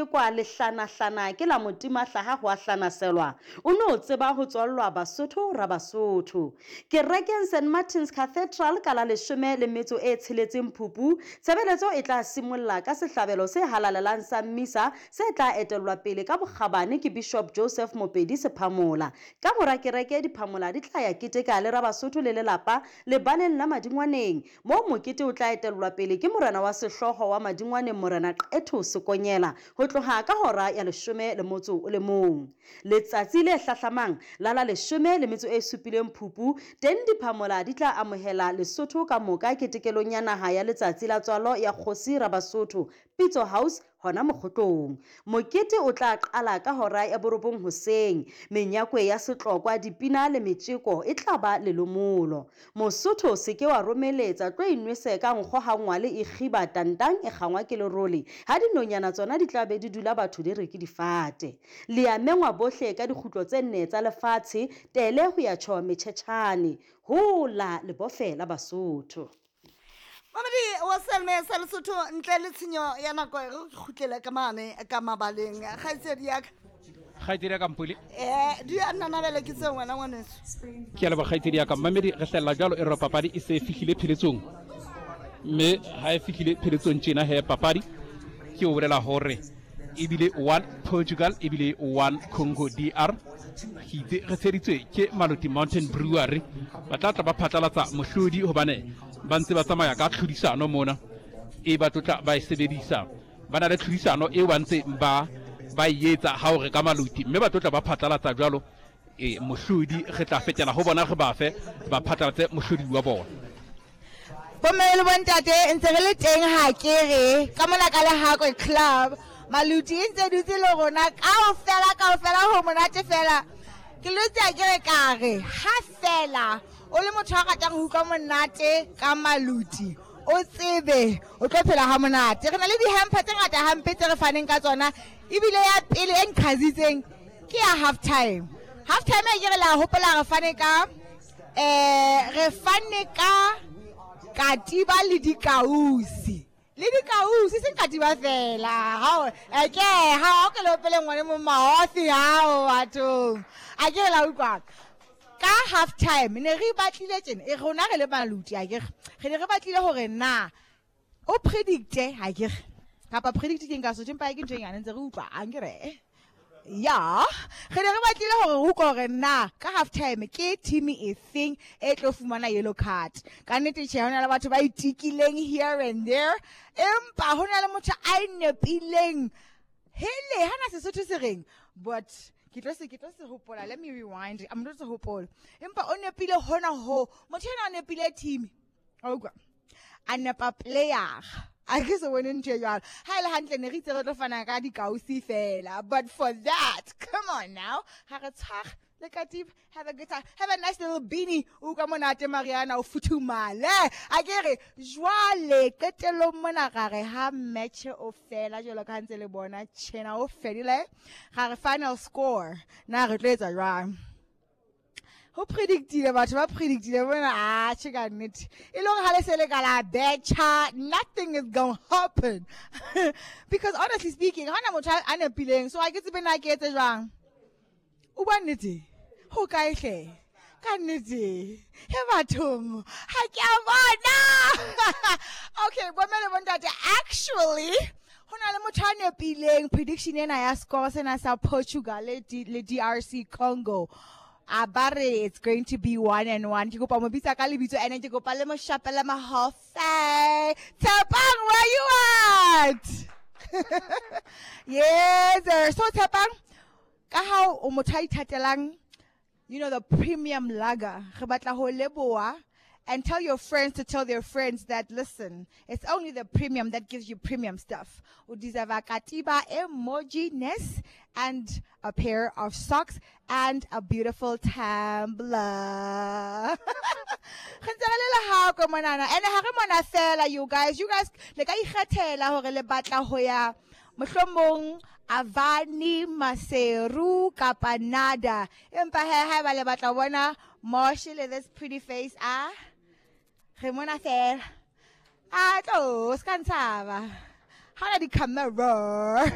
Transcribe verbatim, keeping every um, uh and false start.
Kwa lehlanahlana ke la motimahlaha ho a hlanaselwa, o no tseba ho tswallwa Basotho Rabasotho. Kerekeng Saint Martin's Cathedral ka la leshome le metso e tsheletseng Phupu, tshebeletso e tla simolla ka sehlabelo se halalelang sa mmisa se tla etellwa pele ka bokgabane ke Bishop Joseph Mopedi Sephamola. Ka mora kereke diphamola di tla ya keteka le Rabasotho le lelapa lebaleng la Madingwaneng, moo mokete o tla etellwa pele ke morena wa sehlooho wa Madingwaneng Morena Qetho Sekonyela ho tloha ka hora ya leshome le motso o le mong. Letsatsi le hlahlamang la la leshome le metso e supileng Phupu, teng diphamola di tla amohela Lesotho ka moka ketekelong ya naha ya letsatsi la tswalo ya kgosi Rabasotho, Pitso House hona Mokgotlong. Mokete o tla qala ka hora ya borobong hoseng. Menyakwe ya setlokwa, dipina le metjeko e tla ba lelomolo. Mosotho se ke wa romeletsa, tlo inwese ka nkgo ha ngwale e kgiba tantang e kgangwa ke lerole, ha dinonyana tsona di tla be di dula batho di re ke difate. Le a mengwa bohle ka dikgutlo tse nne tsa lefatshe, tele ho ya tjho metjhetjhane. Hola lebofe la Basotho. Mamedi wa Selme sa Lesotho, ntle le tshenyo ya nako re kgutlele ka mane ka mabaleng. Kgaitsedi ya ka. Kgaitsedi ya ka Mpule. Eh, di a nnanabele ke tseo wena ngwaneso. Ke a leboha kgaitsedi ya ka. Mamedi re hlella jwalo e re papadi e se e fihlile pheletsong. Mme ha e fihlile pheletsong tjena he papadi ke o bolela hore ebile one Portugal ebile one Congo D R. Ke itse re tsheditswe ke Maluti Mountain Brewery. Ba tla tla ba phatlalatsa mohlodi hobane ba ntse ba tsamaya ka tlhodisano mona e ba tlotla ba e sebedisa. Ba na le tlhodisano eo ba ntse ba ba e etsa ha o reka Maluti, mme ba tlotla ba phatlalatsa jwalo e mohlodi re tla fetela ho bona re ba fe ba phatlalatse mohlodi wa bona. Bomme le bontate ntse re le teng ha ke re ka mona ka Lehakwe Club. Maluti e ntse dutse le rona kaofela, kaofela ho monate fela. Ke lotse a ke re ka re ha fela o le motho a ratang ho utlwa monate ka Maluti, o tsebe o tlo phela ha monate. Re na le di-hamper tse ngata hampe tse re faneng ka tsona, ebile ya pele e nqhazitseng ke ya half time. Half time e ke re la hopola re fane ka, eh, re fane ka katiba le dikausi. Le dikausi, seng katiba fela. Hao, eh, ke, ha o ke le opele ngwane mo maofi hao bathong. A ke la utlwa. Ka half time ne re batlile tjena, e rona re le Maluti a ke re. Re ne re batlile hore na o predicte ha ke re. Kapa predict ke nka Sotho empa ke ntho e nyane ntse re utlwa a nke re. Ya, re ne re batlile hore re utlwe hore na ka half time ke team e feng e tlo fumana yellow card. Ka nnete tjhe, ho na le batho ba itikileng here and there, empa ho na le motho a nepileng. Hele, hana Sesotho se reng? But ke tlo se, ke tlo se hopola. Let me rewind. I'm not se hopola. Empa o nepile hona ho. Motho ena o nepile team. Wa utlwa? A nepa player. A ke se bone ntho e jwalo. Ha e le hantle ne re itse re tlo fana ka dikausi fela. But for that, come on now. Ha re tshware le katiba, have a good time. Have a nice little beanie. O utlwa monate Mariana, o futhumale. A ke re, jwale qetellong mona ra re ha match o fela jwalo ka ha ntse le bona tjena o fedile. Ra re final score. Na re tlo etsa jwang? Ho predictile batho ba predictile bona, ah, tjhe ka nnete. E le hore ha le se le ka la betjha, nothing is gonna happen. Because honestly speaking, ha hona motho a nepileng, so ha ke tsebe na ke etse jwang. O bua nnete? Ho kae hle? Ka nnete. He bathong, ha ke a bona. Okay, bomme le bontate, actually, ho na le motho a nepileng prediction ena ya score sena sa Portugal le D-, le D R C Congo. A ba re it's going to be one and one. Ke kopa mo bitsa ka lebitso ene ke kopa le mo shapela mahofe. Tshepang, where you at? Yes, sir. So Tshepang, ka ha o motho a ithatelang, you know, the premium lager. Re batla ho leboha and tell your friends to tell their friends that, listen, it's only the premium that gives you premium stuff. O deserve a katiba emoji-ness and a pair of socks and a beautiful tumbler. Re ntse re le lehako monana. And ha re mona fela, you guys. You guys, le ka ikgethela hore le batla ho ya mohlomong Avani, Maseru, kapa Nada. Empa he, haeba le batla ho bona Moshe le this pretty face, ah, re mona fela. Ah, tlo, se ka ntshaba. Ha ona di-camera.